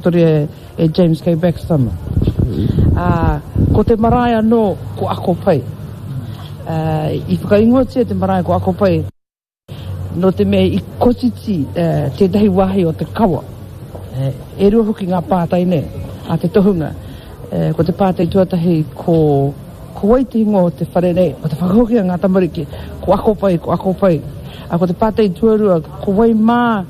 Whakatakotoria e James K. Baxter mā. Ā, ko te marae anō ko Ako Pai. Ā, i whakaingoatia te marae ko Ako Pai nō te mea i kotiti tētahi wāhi o te kawa. E rua hoki ngā pātai nei a te tohunga. Ko te pātai tuatahi ko, ko wai te ingoa o te whare nei? Ko te whakahoki a ngā tamariki, ko Ako Pai, ko Ako Pai. Ā, ko te pātai tuarua, ko wai mā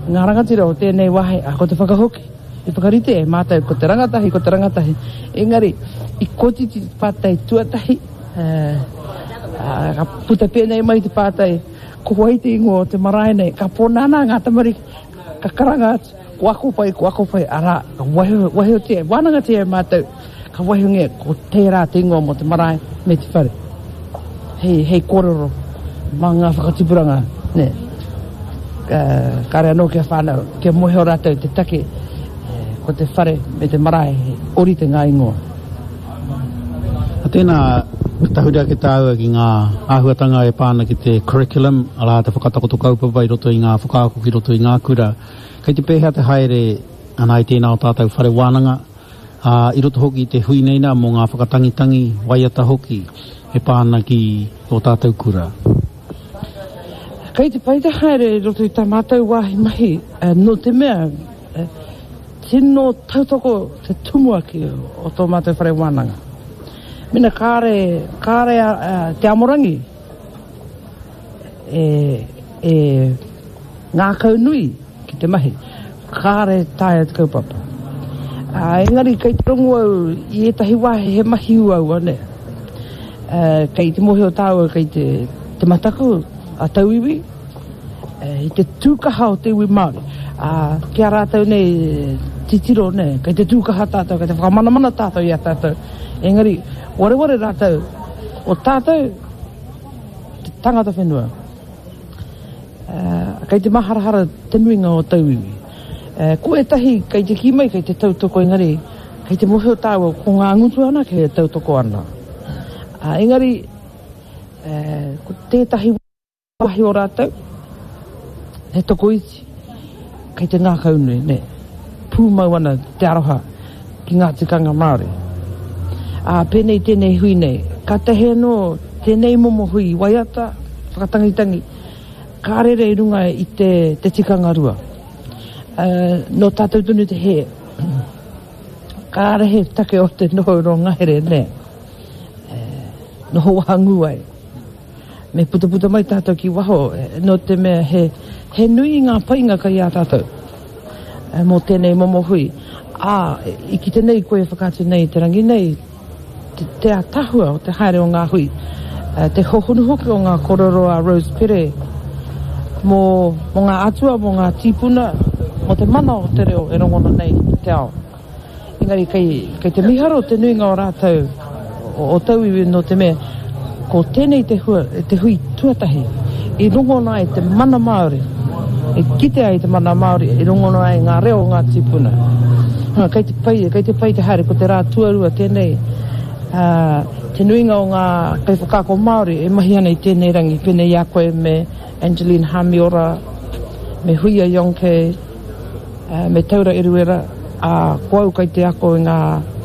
ngā rangatira o tēnei wāhi? Ā, ko te whakahoki, i whakarite e mātou ko te rangatahi, ko te rangatahi. Engari, i kotiti te pātai tuatahi, ā, ka puta pēnei mai te pātai, ko wai te ingoa o te marae nei? Ka pōnānā ngā tamariki, ka karanga atu, Ko ako pai, ko ako pai, arā, ka waiho, waihotia, wānangatia e mātou, ka waihongia ko tērā te ingoa mō te marae me te whare. Hei, hei kōrero mā ngā whakatipuranga, nē. Uh, kāre anō kia whānau, kia mōhio rātou te take, ko te whare me te marae, he ōrite ngā ingoa. A tēnā, ka tahuri ake tāua ki ngā āhuatanga e pā ana ki te curriculum, arā, te whakatakoto kaupapa i roto i ngā whakaako ki roto i ngā kura. Kei te pēhea te haere ana i tēnā o tātou whare wānanga, ā, i roto hoki i te hui nei nā mō ngā whakatangitangi, waiata hoki e pā ana ki ō tātou kura? Kei te pai te haere i roto i tā mātou wāhi mahi, nō te mea, tino tautoko te tumuaki o tō mātou whare wānanga. Mena kāre, kāre te amorangi e, e ngākaunui ki te mahi, kāre taea te kaupapa. Ā, engari kei te rongo au i ētahi wāhi he mahi uaua, nē. Ā, kei te mōhio tāua kei te, te mataku a tauiwi, i te tūkaha o te iwi Māori. Ā, ki a rātou nei titiro, nē, kei te tūkaha tātou, kei te whakamanamana tātou i a tātou. Engari, wareware rātou, o tātou te tangata whenua. Kei te maharahara te nuinga o tauiwi. Ko ētahi kei te kī mai kei te tautoko engari kei te mōhio tāua ko ngā ngutu anake e tautoko ana. Engari ko tētahi wāhi o rātou he tokoiti kei te ngākaunui, nē, pūmau ana te aroha ki ngā tikanga Māori. Ā, pēnei tēnei hui nei, kātahi anō tēnei momo hui waiata, whakatangitangi, ka rere i runga i te, te tikanga rua. Ā, nō tātou tonu te hē. Kāre he take o te noho rō ngahere, nē. E, noho wahangū ai. Me putaputa mai tātou ki waho, nō te mea he, he nui ngā painga kai a tātou mō tēnei momo hui. Ā, i kite nei koe e whakaatu nei i te rangi nei, te, te ātaahua o te haere o ngā hui, te hohonu hoki o ngā kōrero a Rose Pere mō, mō ngā atua, mō ngā tīpuna, mō te mana o te reo e rongona nei i te ao. Engari kei, kei te miharo te nuinga o rātou, o, o tauiwi nō te mea, ko tēnei te, hua, te hui tuatahi i rongona ai te mana Māori, i kite ai te mana Māori, i rongona ai ngā reo o ngā tīpuna. Ha, kei te pai, kei te pai te haere, ko te rā tuarua tēnei, ā, te nuinga o ngā kaiwhakaako Māori e mahi ana i tēnei rangi, pēnei i a koe me Angeline Hamiora, me Huia Yonke, Me Taura Eruera, ā, ko au kei te ako i ngā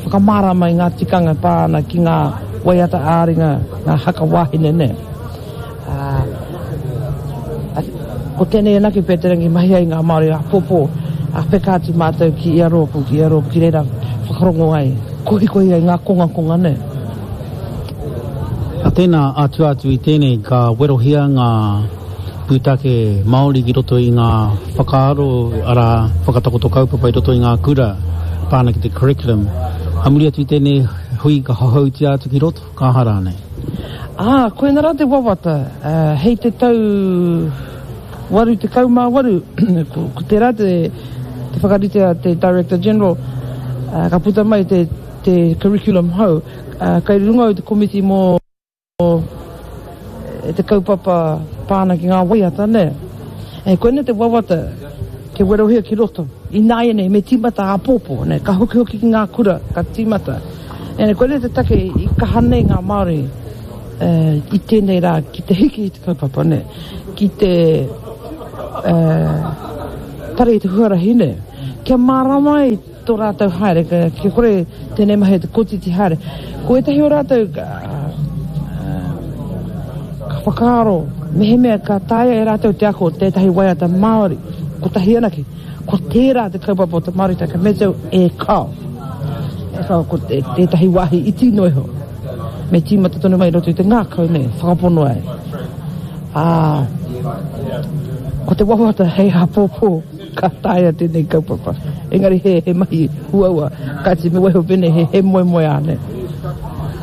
whakamārama i ngā tikanga e pā ana ki ngā waiata ā-ringa, ngā haka wāhine nē. Ā, ko tēnei anake pea te rangi mahi ai ngā Māori āpōpō, ā, peka atu mātou ki ia rōpū, ki ia rōpū, ki reira whakarongo ai, kohikohi ai ngā kongakonga nē. Ā, tēnā, ā tua atu i tēnei, ka werohia ngā. Pūtake Māori ki roto i ngā whakaaro, arā, whakatakoto kaupapa i roto i ngā kura, pā ana ki te curriculum. Ā muri atu i tēnei hui ka hohoutia atu ki roto, ka aha rānei? Ā, koinā rā te wawata, hei te tau 88, ko tērā te whakarite a te Director General, ka puta mai te curriculum hou, kei runga au i te komiti mō. Te kaupapa pā ana ki ngā waiata, nē. E, koinei te wawata kia werohia ki roto. Ināianei, me tīmata āpōpō, nē, ka hokihoki ki ngā kura, ka tīmata. E, koinei te take i kaha nei ngā Māori e, i tēnei rā ki te hiki i te kaupapa, nē, ki te e, tare i te huarahi, nē. Kia mārama ai tō rātou haere, kia kore tēnei mahi te kotiti haere. Ko ētahi o rātou ka whakaaro, mehemea ka taea e rātou te ako tētahi waiata Māori, kotahi anake, ko tērā te kaupapa o te Māoritanga, me te e kao. E kao, ko tētahi wāhi iti noa iho. Me tīmata tonu mai i roto i te ngākau nei, whakapono ai. Ā, ko te wawata hei āpōpō ka taea tēnei kaupapa. Engari he, he mahi uaua, kāti me waiho pēnei he, he moemoeā nei.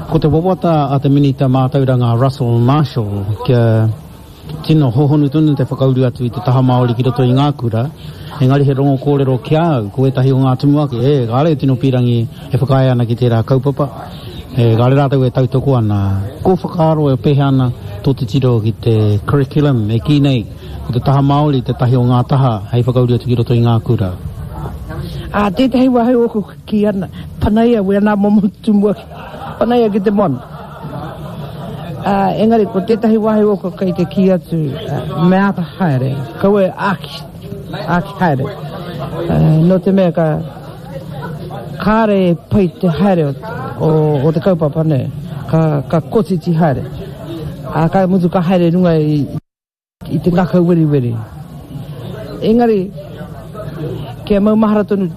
Ko te wawata a te Minita Mātauranga Russell Marshall kia Tino hohonu tonu te whakauru atu i te taha Māori ki roto i ngā kura, engari he rongo kōrero ki a au, ko ētahi o ngā tumuaki, e, kāre e tino pīrangi e whakaae ana ki tērā kaupapa, e, kāre rātou e tautoko ana. Ko whakaaro e pēhea ana tō titiro ki te curriculum e kī nei, ko te taha Māori tētahi o ngā taha hei whakauru atu ki roto i ngā kura? Ā, tētahi wā hei ōku Kī ana, panaia wēnā momo tumuaki, panaia ki te moana. Ā, engari ko tētahi wāhi ōku kei te kī atu, me āta haere, kaua e āki, āki haere. Nō te mea ka, kāre e pai te haere o, o, o te kaupapa nei, ka, ka kotiti haere. Ā, ka mutu ka haere runga i, I te ngakau weriweri. Engari, kia maumahara tonu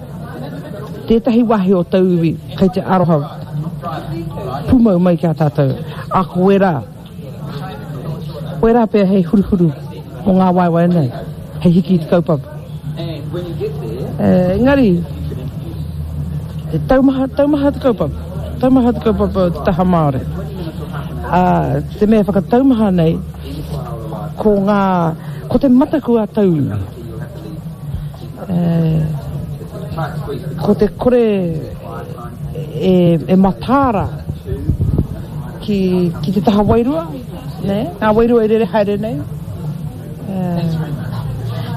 tētahi wāhi o tauiwi kei te aroha pūmau mai ki a tātou, ā, ko wērā, wērā pea hei huruhuru mō ngā waewae nei, hei hiki i te kaupapa. Engari, he taumaha, taumaha te kaupapa, taumaha te kaupapa o te taha Māori. Ā, te mea whakataumaha nei, Ko ngā, ko te mataku a tauiwi, ko te kore e, e mataara ki, ki te taha wairua, nē, ngā wairua e rere haere nei.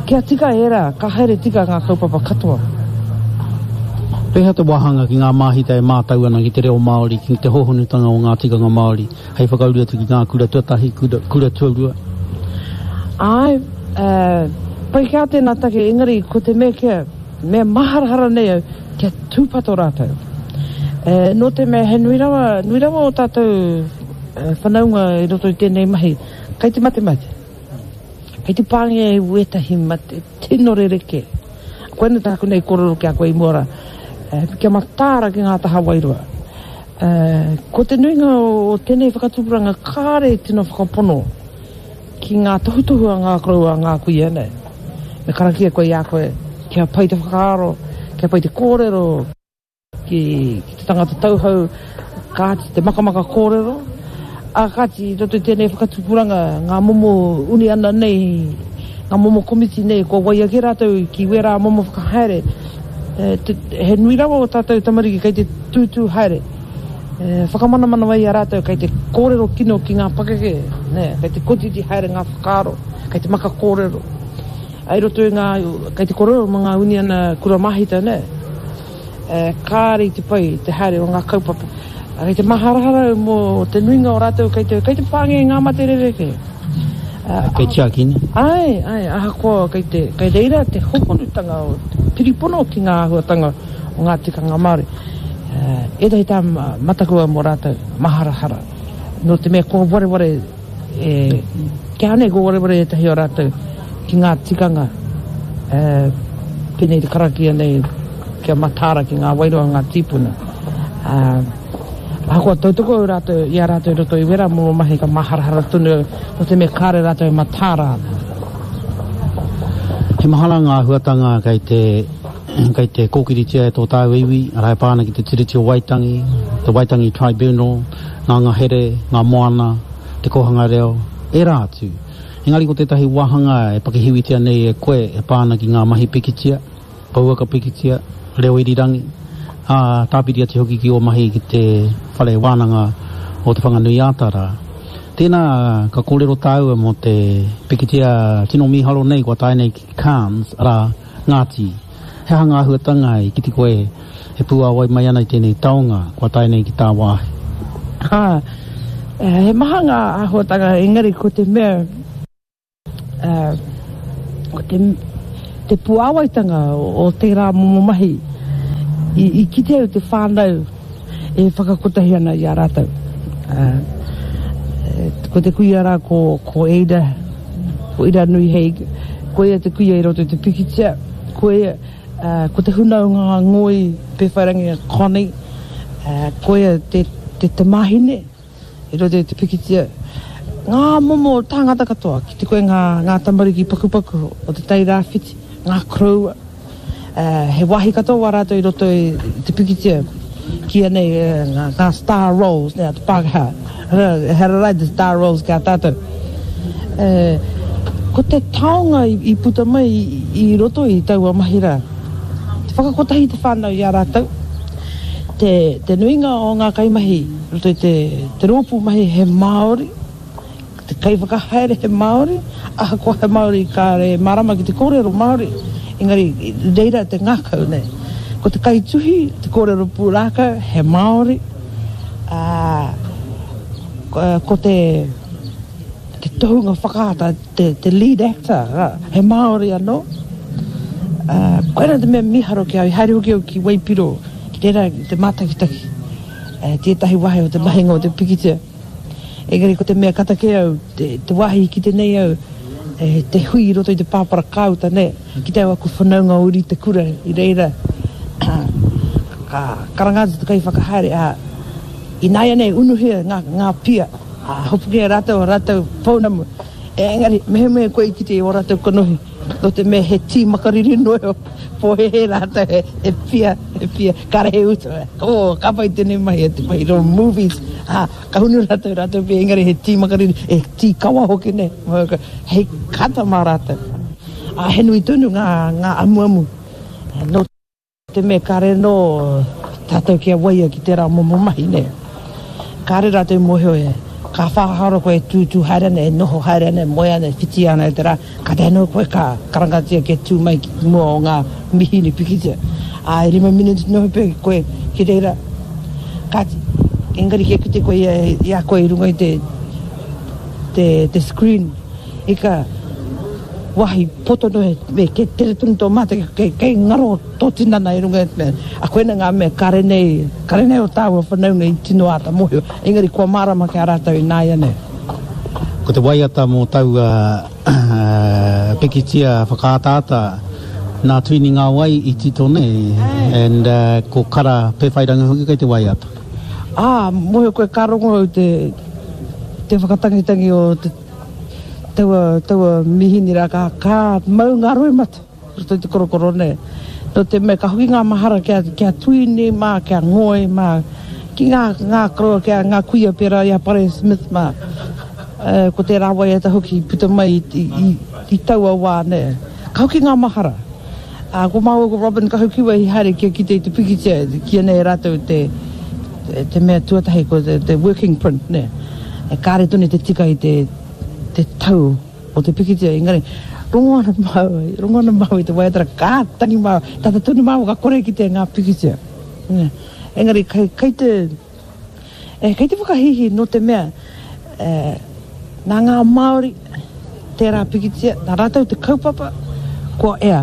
Kia tika ērā, ka haere tika ngā kaupapa katoa. Pēhea te wāhanga ki ngā māhita e mātau ana ki te reo Māori, ki te hōhonutanga o ngā tikanga Māori? Hei whakauru atu ki ngā kura tuatahi, kura, kura tuarua. Āe, pai kē tēnā take, engari ko te mea kia, mea maharahara nei au, kia tūpato rātou. Nō te mea he nui rawa, nui rawa o tātou whanaunga i roto i tēnei mahi, kei te matemate. Kei te pāngia e wētahi mate tino rerekē. Koinā tāku nei kōrero ki a koe i mua rā, kia mataara ki ngā taha wairua. Ko te nuinga o tēnei whakatupuranga kāre i tino whakapono ki ngā tohutohu a ngā koroua, a ngā kuia nei. Me karakia koe i a koe kia pai te whakaaro, kia pai te kōrero ki te tangata tauhou, kāti te makamaka kōrero, ā kāti i roto i tēnei whakatupuranga ngā momo uniana nei, ngā momo komiti nei kua waia kē rātou ki wērā momo whakahaere. He nui rawa o tātou tamariki kei te tūtū haere, e whakamanamana ai i a rātou kei te kōrero kino ki ngā pakeke, nē, kei te kotiti haere ngā whakaaro, kei te maka kōrero. I roto i ngā, kei te kōrero mō ngā uniana kura māhita, nē, e, kāre i te pai te haere o ngā kaupapa. Kei te maharahara au mō te nuinga o rātou kei te, kei te pāngia i ngā mate rerekē. Kei tiakina. Āe, āe, ahakoa kei te, kei reira te hohonutanga o te piripono ki ngā āhuatanga o ngā tikanga Māori. Ētahi tā mataku au mō rātou, maharahara, nō te mea kua wareware, e, kia nei kua wareware ētahi o rātou ki ngā tikanga, e, pēnei te karakia nei, kia mataara ki ngā wairua o ngā tīpuna. Ā, Ahakoa tautoko au rātou, i a rātou i roto i wērā momo mahi ka māharahara tonu au, nō te mea kāre rātou e mataara ana. He maha rā ngā āhuatanga kei te, kei te kōkiritia e tō tāua iwi, arā e pā ana ki te Tiriti o Waitangi, te Waitangi Tribunal, ngā ngahere, ngā moana, te kōhanga reo, ērā atu. Engari ko tētahi wāhanga e pakihiwitia nei e koe e pā ana ki ngā mahi pikitia, Pouaka pikitia, reo irirangi, ā, tāpiri atu hoki ki ō mahi ki te Whare Wānanga o Te Whanganui-ā-Tara. Tēnā, ka kōrero tāua mō te pikitia tino mīharo nei kua tae nei ki Cannes, arā, Ngāti. He aha ngā āhuatanga i kite koe e pūāwai mai ana i tēnei taonga kua tae nei ki tāwāhi? Ā, he maha ngā āhuatanga, engari ko te mea, Ko te, te puāwaitanga o tērā momo mahi, i kite au te whānau e whakakotahi ana i a rātou. Ko te kuia rā ko, ko Ada, ko Iranui Haig, koia te kuia i roto i te pikitia, koia, ko te hunaonga ngoi Pēwhairangi a Connie, koia te, te tamāhine i roto i te pikitia. Ngā momo tāngata katoa, ki te koe ngā, ngā tamariki pakupaku o te Tai Rāwhiti, ngā koroua, He wāhi katoa wā rātou i roto i te pikitia, kīia nei ngā star roles, nē, a te Pākehā. Ehara rā i te star roles ki a tātou. Ko te taonga i puta mai i roto i taua mahi rā, te whakakotahi i te whānau i a rātou, te nuinga o ngā kaimahi i roto i te rōpū mahi he Māori, Te kaiwhakahaere he Māori, ahakoa he Māori kāre e mārama ki te kōrero Māori, engari i reira te ngākau nei. Ko te kaituhi, te kōrero pūrākau, he Māori, ā, ko te, te tohunga whakaata, te, te lead actor, he Māori anō. Ā, koirā te mea mīharo ki a au, i haere hoki au ki Waipiro, ki reira te mātakitaki, tētahi wāhi o te mahinga o te pikitia. Engari ko te mea kata kē au, te wāhi i kite nei au, te hui i roto i te pāpara kāuta, nē, kite au aku whanaunga o uri te kura i reira, ka karanga atu te kaiwhakahaere, ā, ināianei unuhia ngā, ngā pia, ā, hopukia e rātou ō rātou pounamu. Engari, mehemea koe i kite i ō rātou kanohi, nō te mea he tī makariri noa iho, pōhēhē rātou he pia, he pia, kāre he utu. Oh, ka pai tēnei mahi, te mahi rō movies. Ā, ka hunu rātou, rātou pia, engari he tī makariri, he tī kawa hoki nei, hei kata mā rātou. Ā, he nui tonu ngā, ngā amuamu. Nō te mea kāre anō tātou kia waia ki tērā momo mahi, nē. Kāre rātou i mōhio e, ka whāhara koe e tūtū haere ana, e noho haere ana, e moe ana, e whiti ana i te rā, kātahi anō koe ka karangatia kia tū mai ki mua o ngā mihini pikitia. Ā, e rima miniti noa pea koe ki reira. Kāti, engari kia kite koe i a koe i runga i te, te, te screen, Ika, wahi poto noa he, kei tere tonu tō mātaki, kei, kei ngaro tō tinana i runga i te mea, a koina ngā mea kare nei, kare nei o tāua whanaunga i tino āta mōhio, engari kua mārama ki a rātou ināianei. Ko te waiata mō taua pikitia whakaataata nā Tuini Ngāwai i tito nei, and ko Kara Pewhairangi hoki kei te waiata. Ā, mōhio koe ka rongo au te, te whakatangitangi o te Taua, taua mihini rā, ka, ka mau ngā roimata i roto i te korokoro nei. Nō te mea, ka hoki ngā mahara kia, kia tuini mā, kia ngoi mā, ki ngā, ngā koroua, kia ngā kuia pērā i a Pare Smith mā. E, ko tērā waiata hoki i puta mai i, i, i, i taua wā nei. Ka hoki ngā mahara. Ā, ko māua ko Robin Kahukiwa i haere kia kite i te pikitia, kīia nei e rātou te, te mea tuatahi ko te, te working print, nē. E kāre tonu te tika i te, te tau o te pikitia, engari, rongo ana māua, rongo ana māua i te waiata rā, ka tangi māua, tata tonu māua ka kore kite ngā pikitia. Nē. Engari, kei, kei te, E, kei te whakahīhī nō te mea, e, nā ngā Māori tērā pikitia, nā rātou te kaupapa, kua ea.